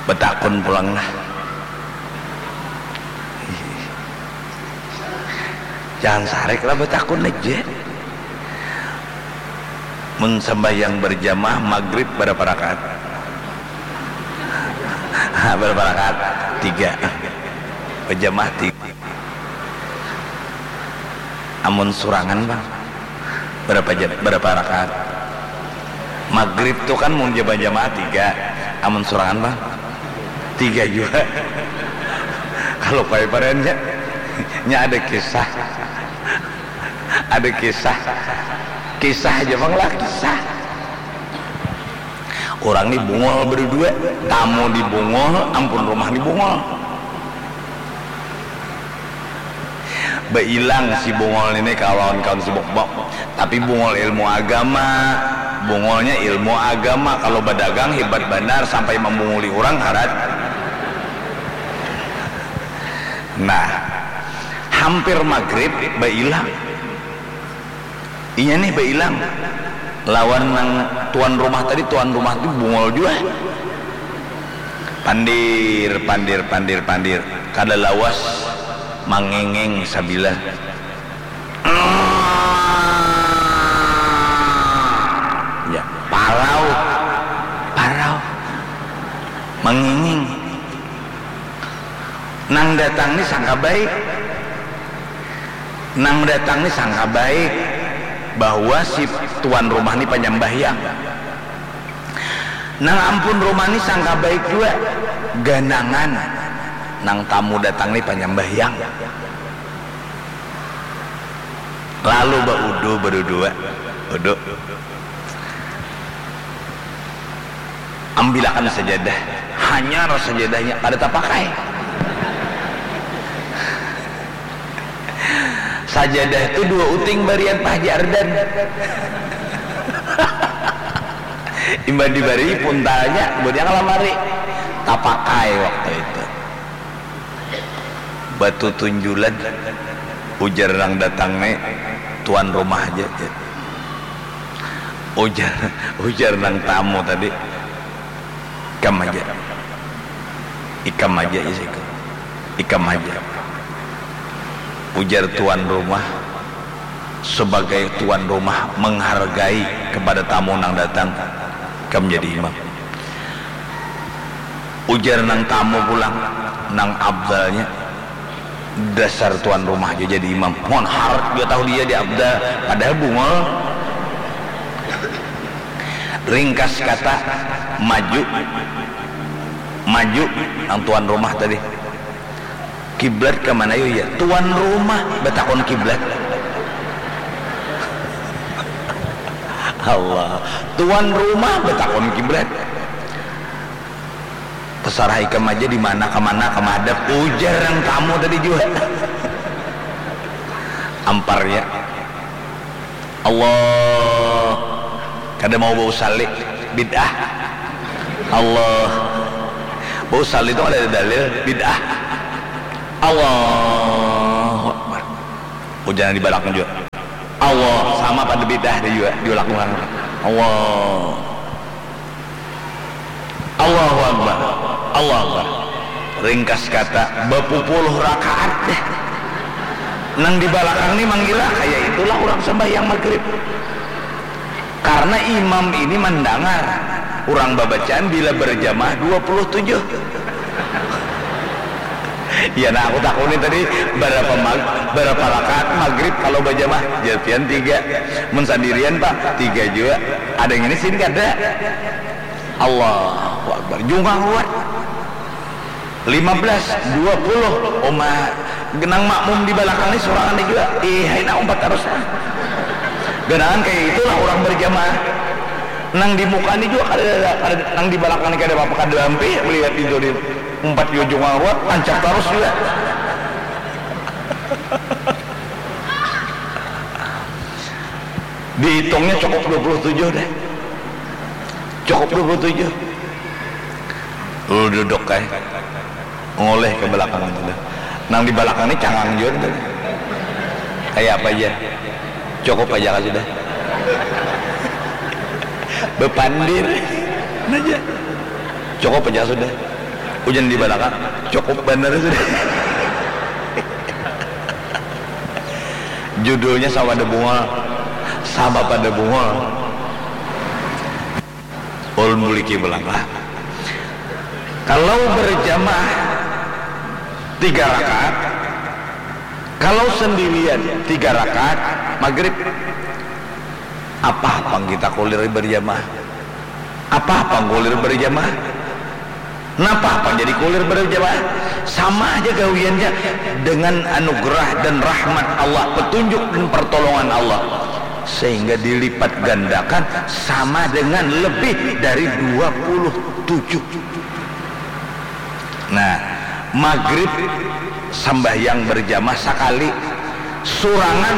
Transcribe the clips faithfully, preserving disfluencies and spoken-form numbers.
Betakun pulang lah. Jangan sarik lah, betakun aja. Mun sembahyang berjamaah maghrib berapa rakaat? Berapa rakaat? Tiga. Berjamaah tiga. Amun surangan bang, berapa jam, berapa rakaat? Maghrib tuh kan mun jamaah tiga, amun surangan bang tiga juga. Kalau pai parannya, nya ada kisah, ada kisah, kisah aja bang lah kisah. Orang ni bungol berdua, tamu di bungol, ampun rumah ni bungol. Bailang si bungol ini kawan-kawan si bokbok, tapi bungol ilmu agama. Bungolnya ilmu agama, kalau badagang hebat banar sampai mambunguli orang harat. Nah, hampir maghrib bailang. Inya nih bailang lawan nang tuan rumah tadi. Tuan rumah tu bungol jua. Pandir, pandir, pandir, pandir. Kada lawas manginging sabilah. Ya, parau. Parau. Manginging. Nang datang ni sangka baik. Nang datang ni sangka baik bahwa si tuan rumah ni panyambahyang. Nang ampun rumah ni sangka baik jua, ganangan nang tamu datang ni panyambahyang. Lalu baudu badudua. Udu. Ambilakan sajadah. Hanyar sajadahnya, kada tapakai. Sajadah tu dua uting barian Pak Haji Ardan. Imbah dibari puntalnya, budiang lamari. Tapakai waktu itu. Batu tunjulan, ujar nang datang ni tuan rumah aja. Ujar, ujar nang tamu tadi, ikam aja, ikam aja isiku, ikam aja. Ujar tuan rumah, sebagai tuan rumah menghargai kepada tamu nang datang, ikam jadi imam. Ujar nang tamu pulang, nang abdalnya, dasar tuan rumah jua jadi imam. Mun harat jua tahu dia di abdal, padahal bungol. Ringkas kata, maju. Maju nang tuan rumah tadi. Kiblat ka mana yu ya? Tuan rumah batakun kiblat. Allah. Tuan rumah batakun kiblat. Terserah ikam aja di mana, ke mana, ke madhab. Ujar nang tamu tadi jua. Amparnya. Allah. Kada mau bausalli. Bid'ah. Allah. Bausalli tu kada ada dalil. Bid'ah. Allahu Akbar. Ujar nang di balakang jua. Allah. Sama pada bid'ah dia jua. Diulang ulang. Allah. Allahu Akbar. Allahu Akbar. Ringkas kata, bapupuluh rakaat deh. Nang di balakang ni mangira, kaya itulah urang sambahyang maghrib. Karna imam ini mandangar urang babacaan bila berjamaah dua puluh tujuh. Ya nah, aku takuni tadi, barapa mag-, barapa rakaat maghrib kalau bajamaah? Jar pian, tiga. Mun sandirian, Pak, tiga jua. Ada yang ini sini kada. Allahu Akbar. Jungkang ruat. Lima belas, dua puluh. Uma, nang makmum di balakang ni surangan ni jua. Ih, hai nak umpat tarus. Ganangan kaya itulah urang barjamaah. Nang di muka ni jua kada, kada, nang di balakang ni kada apa-apa, kada ampih melihat itu di umpat jua jungkang ruat, tancap tarus jua. Dihitungnya cukup dua puluh tujuh deh. Cukup dua puluh tujuh. Lalu duduk ai. Ngoleh ke belakang itu dah. Nang di balakang ni cangang jua dah. Kaya apa aja. Cukup aja kah sudah. Bepandir aja. Cukup aja sudah. Hujan di balakang, cukup banar sudah. Judulnya sama ada bunga, sama pada bunga. Ulun buliki belakang. Kalau berjamaah tiga rakaat, kalau sendirian tiga rakaat maghrib, apa pang kita kulir berjamaah? Apa pang kulir berjamaah? Napa pang jadi kulir berjamaah? Sama aja gawiannya dengan anugerah dan rahmat Allah, petunjuk dan pertolongan Allah, sehingga dilipat gandakan sama dengan lebih dari dua puluh tujuh. Nah, maghrib sambahyang berjamaah sakali, surangan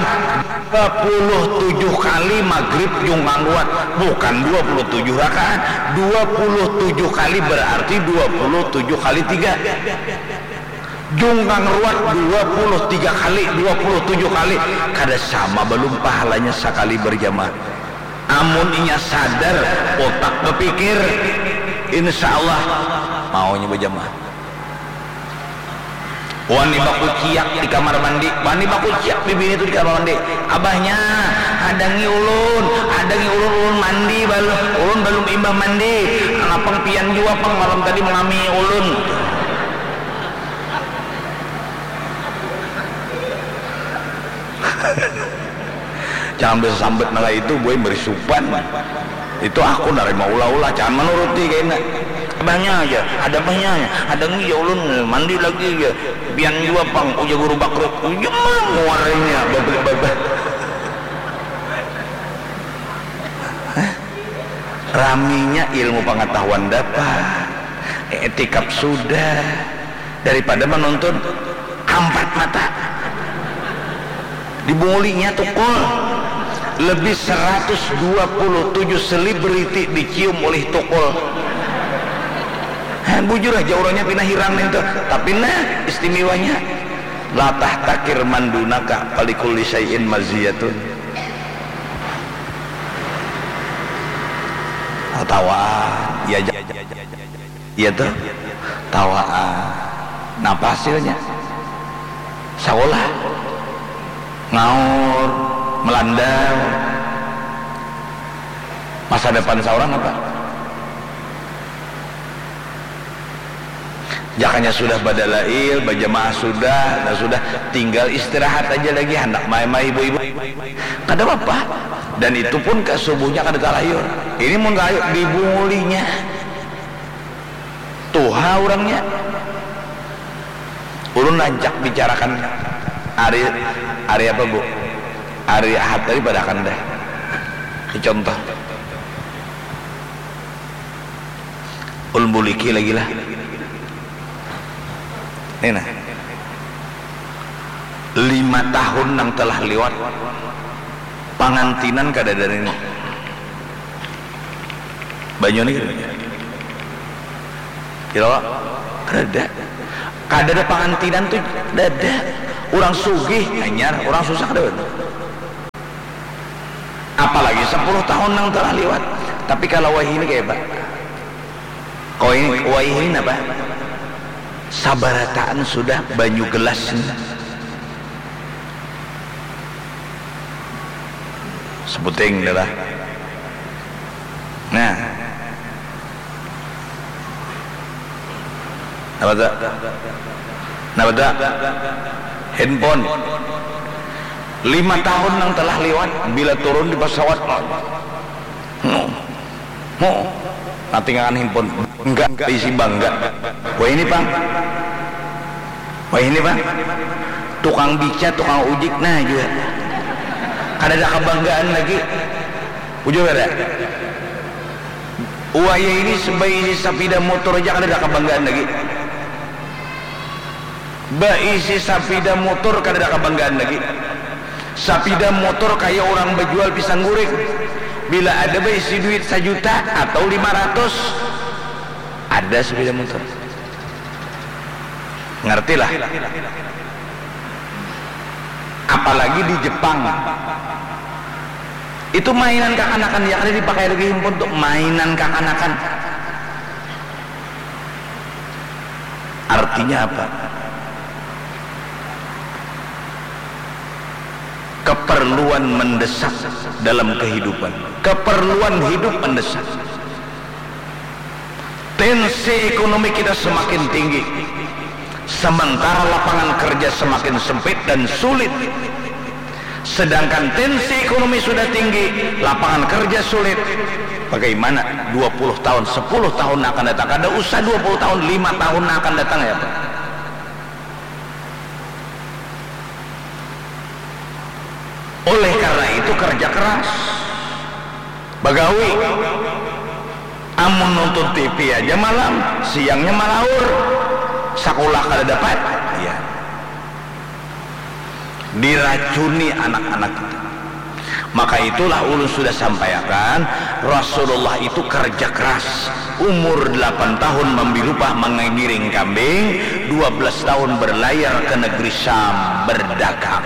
dua puluh tujuh kali maghrib jungkang ruat, bukan dua puluh tujuh rakaat, dua puluh tujuh kali berarti dua puluh tujuh kali tiga. Jungkang ruat dua puluh tiga kali, dua puluh tujuh kali, kada sama belum pahalanya sakali berjamaah. Amun inya sadar, utak bapikir, insya Allah maunya bajamaah. Wani bakuciak di kamar mandi, wani bakuciak bibini tu di kamar mandi. Abahnya, hadangi ulun, hadangi ulun, ulun mandi balum, ulun balum imbah mandi. Lapang pian jua pang malam tadi mangamihi ulun. Jangan bisa sambat nang itu, buai merisupan. Itu aku narima ulah-ulah, jangan manuruti kaina. Abahnya aja, ada abahnya aja. Ada ngi ya ulun mandi lagi ya. Pian jua pang, ujar guru bakri. Ujar muarnya babak-babak. Hah? Raminya ilmu pengetahuan dapat, etikap sudah, daripada menuntun ampat mata. Dibungulinya tukul. Lebih seratus dua puluh tujuh selebriti dicium oleh tukul. Hah, bujur aja orangnya pina hirang nintu. Tapi nah, istimewanya, latah takir mandunaka palikulli syai'in maziyatun. Tawaan, ya, ja-, iya tuh, tawaan. Napa hasilnya? Sakolah, ngaur, melandau. Masa depan saurang apa? Jakanya sudah badalail, bajamaah sudah, nah sudah, tinggal istirahat aja lagi, handak main-main ibu-ibu. Kada apa-apa. Dan itu pun ke subuhnya kada talayur. Ini mun talayur, dibungulinya. Tuha urangnya. Ulun rancak bicarakan hari, hari apa, Bu? Hari Ahad tadi pada akan dah. Ini contoh. Ulun buliki lagi lah. Nih nah. Lima tahun nang telah liwat, pangantinan kada ada ini. Banyu ni kada ada. Kira, Wak? Kada ada. Kada ada pangantinan tu, kada ada. Urang sugih, hanyar, urang susah, kada ada. Apalagi sepuluh tahun nang telah liwat. Tapi kalau wayahini kaya apa? Kau ini, wayahini napa? Sabarataan sudah banyu gelas ni. Sebuting dah lah. Nah. Napa tu? Napa tu? Handphone. Lima tahun nang telah liwat, bila turun di pesawat, hmm, hmm, natingakan handphone. Bangga, baisi bangga. Wah ini pang. Wah ini pang. Tukang bica, tukang ujik, nah jua. Kada ada kebanggaan lagi. Bujur kada? Wayah ini baisi sapida motor aja kada ada kebanggaan lagi. Baisi sapida motor kada ada kebanggaan lagi. Sapida motor kaya urang bajual pisang guring. Bila ada baisi duit sajuta atau lima ratus, ada sapida motor. Ngerti lah. Apalagi di Jepang. Itu mainan kakanakan, ya kada dipakai lagi handphone tu, mainan kakanakan. Artinya apa? Keperluan mendesak dalam kehidupan. Keperluan hidup mendesak. Tensi ekonomi kita semakin tinggi, sementara lapangan kerja semakin sempit dan sulit. Sedangkan tensi ekonomi sudah tinggi, lapangan kerja sulit. Bagaimana dua puluh tahun, sepuluh tahun akan datang? Kada usah dua puluh tahun, lima tahun akan datang ya, Pak. Oleh karena itu kerja keras. Bagawi. Amun nonton T V aja malam, siangnya malaur. Sakulah kada dapat. Iya. Diracuni anak-anak kita. Maka itulah ulun sudah sampaiakan, Rasulullah itu kerja keras. Umur delapan tahun mambi lupah mangiring kambing, dua belas tahun berlayar ke negeri Syam berdagang.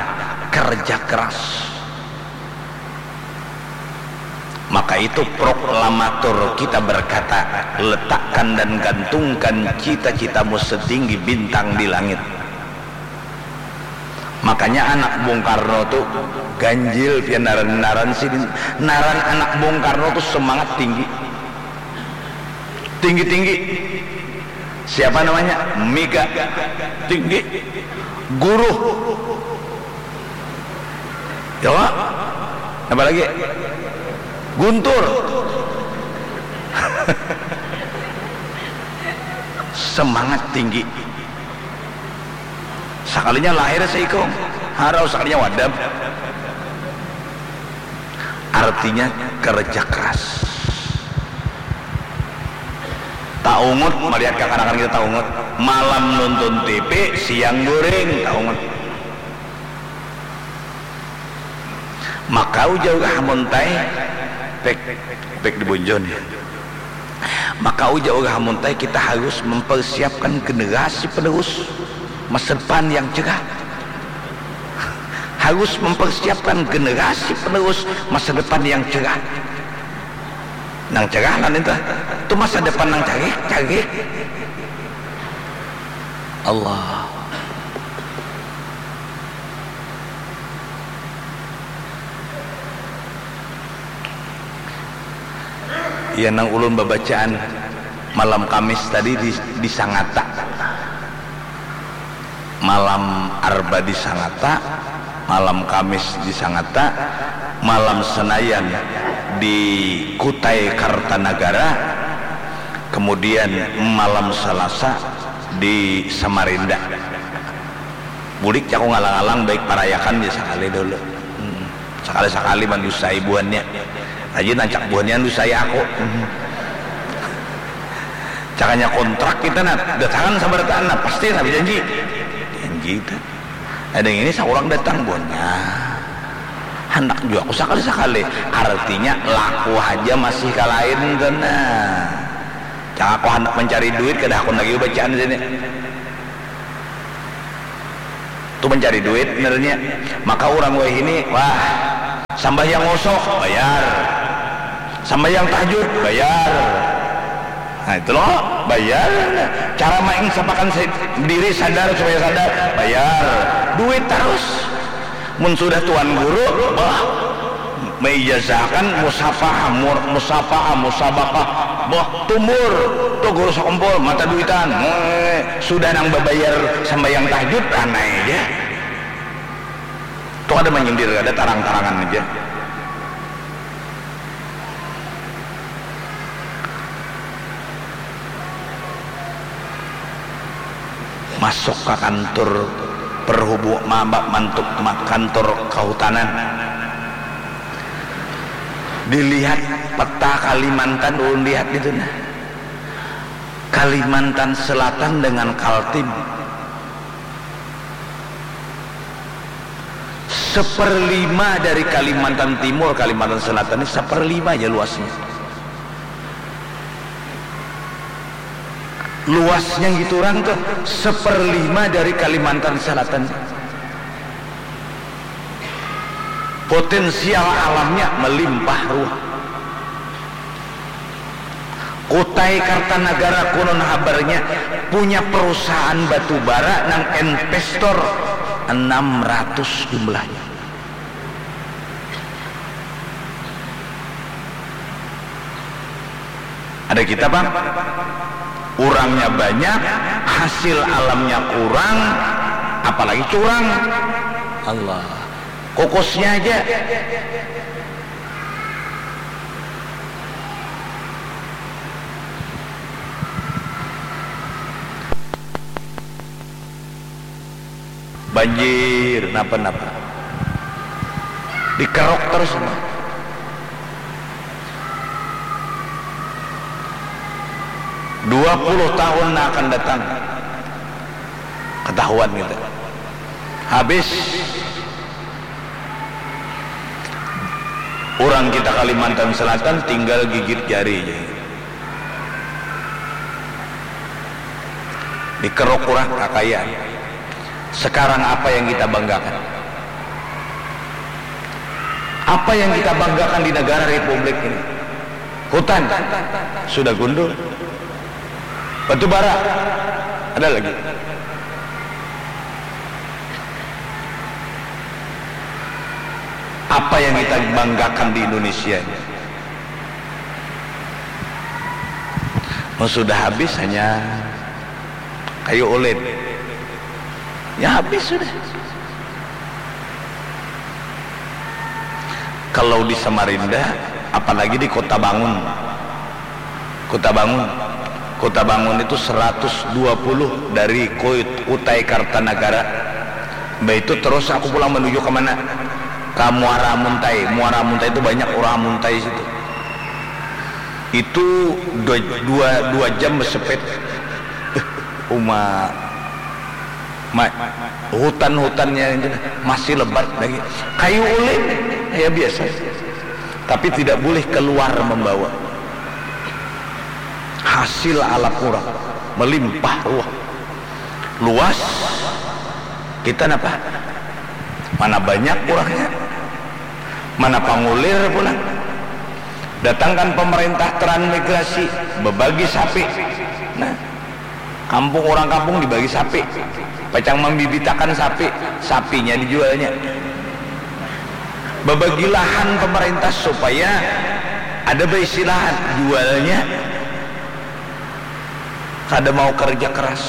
Kerja keras. Maka itu proklamator kita berkata, letakkan dan gantungkan cita-citamu setinggi bintang di langit. Makanya anak Bung Karno tu ganjil pian naran-naran sidin. Naran anak Bung Karno tu semangat tinggi. Tinggi-tinggi. Siapa namanya? Mega. Tinggi. Guru. Ya, Pak? Apa lagi? Guntur. Semangat tinggi. Sakalinya lahir seikung, harau sakalinya wadam. Artinya kerja keras. Taungut, malihat kakanakan kita taungut. Malam nonton T V, siang goreng, taungut. Maka ujar Gah Muntai, pek, pek di Bonjon ya. Maka ujar Gah Muntai, kita harus mempersiapkan generasi penerus masa depan yang cerah. Harus mempersiapkan generasi penerus masa depan yang cerah. Nang cerah lah nintu. Tu masa depan nang carik, carik. Allah. Ya, nang ulun babacaan malam Kamis tadi di, di Sangata. Malam Arba di Sangata, malam Kamis di Sangata, malam Senayan di Kutai Kartanagara, kemudian malam Selasa di Samarinda. Bulik jaku ngalang-alang baik parayakan ja sakali dulu. Hmm. Sakali-sakali mandusai buhannya. Rajin ancak buhannya mandusai aku. Hmm. Cakanya kontrak kita nah, datangan sabarataan nah, pasti nah janji. Janji kita. Ada yang ini seorang datang buhannya. Handak jua aku sakali-sakali. Artinya laku aja masih kalain tuh nah. Cak aku handak mencari duit kada hakun lagi bacaan sini. Tu mencari duit benernya. Maka orang wahini, wah, sambahyang ngosok, bayar. Sambahyang tahajud, bayar. Nah, itu loh, bayar. Cara main sapakan diri sadar supaya sadar, bayar. Duit terus. Mun sudah tuan guru, bah, meijazahakan musafahah, mur-, musafahah, musabakah, bah, tumbur, tu guru sakumpul, mata duitan, eh, sudah nang babayar sambayang tahajud, ranai aja. Tu kada manyindir, kada tarang-tarangan aja. Masuk ka kantur perhubung, ma-, ma-, mantuk ma-, kantur kahutanan. Dilihat peta Kalimantan, ulun lihat itu nah. Kalimantan Selatan dengan Kaltim. Seperlima dari Kalimantan Timur, Kalimantan Selatan ini seperlima aja luasnya. Luasnya gitu orang tuh seperlima dari Kalimantan Selatan. Potensial alamnya melimpah ruah. Kota Kutai Kartanagara konon habarnya punya perusahaan batu bara nang investor enam ratus jumlahnya. Ada kita, Bang. Urangnya banyak, hasil alamnya kurang, apalagi curang. Allah. Kukusnya aja. Banjir, napa-napa. Dikeruk terus. Dua puluh tahun yang akan datang, ketahuan kita. Habis. Urang kita Kalimantan Selatan tinggal gigit jari ja. Dikeruk urang kakayaan. Sekarang apa yang kita banggakan? Apa yang kita banggakan di negara republik ini? Hutan sudah gundul. Batu bara ada lagi. Apa yang kita banggakan di Indonesia ini? Mun sudah habis hanya kayu ulin. Ya habis sudah. Kalau di Samarinda, apalagi di Kota Bangun. Kota Bangun. Kota Bangun itu seratus dua puluh dari Kut-, Kutai Kartanagara. Mbah itu terus aku pulang menuju ke mana? Ke Muara Muntai. Muara Muntai itu banyak orang Muntai situ. Itu dua, dua, dua jam bersepeda. Uma, ma-, hutan-hutannya itu masih lebat lagi. Kayu ulin, ya biasa. Tapi tidak boleh keluar membawa. Hasil alam urang melimpah ruah. Luas, kita napa? Mana banyak urangnya? Mana pangulir pulang? Datangkan pemerintah transmigrasi, bebagi sapi. Nah, kampung, urang kampung dibagi sapi. Pacang mambibitakan sapi, sapinya dijualnya. Bebagi lahan pemerintah supaya ada baisi lahan, jualnya. Kada mau kerja keras.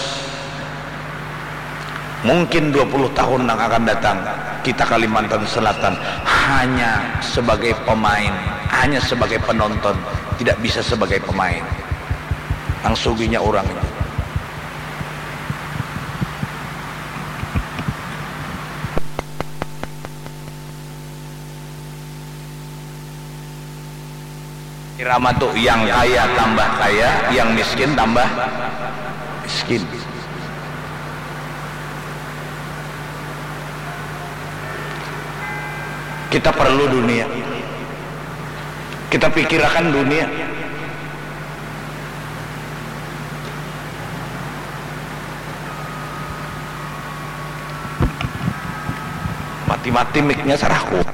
Mungkin dua puluh tahun yang akan datang, kita Kalimantan Selatan hanya sebagai pemain, hanya sebagai penonton, tidak bisa sebagai pemain. Nang suginya urang itu. Irama tu, yang kaya tambah kaya, yang miskin tambah miskin. Kita perlu dunia. Kita pikirakan dunia. Mati-mati mic-nya sarahku.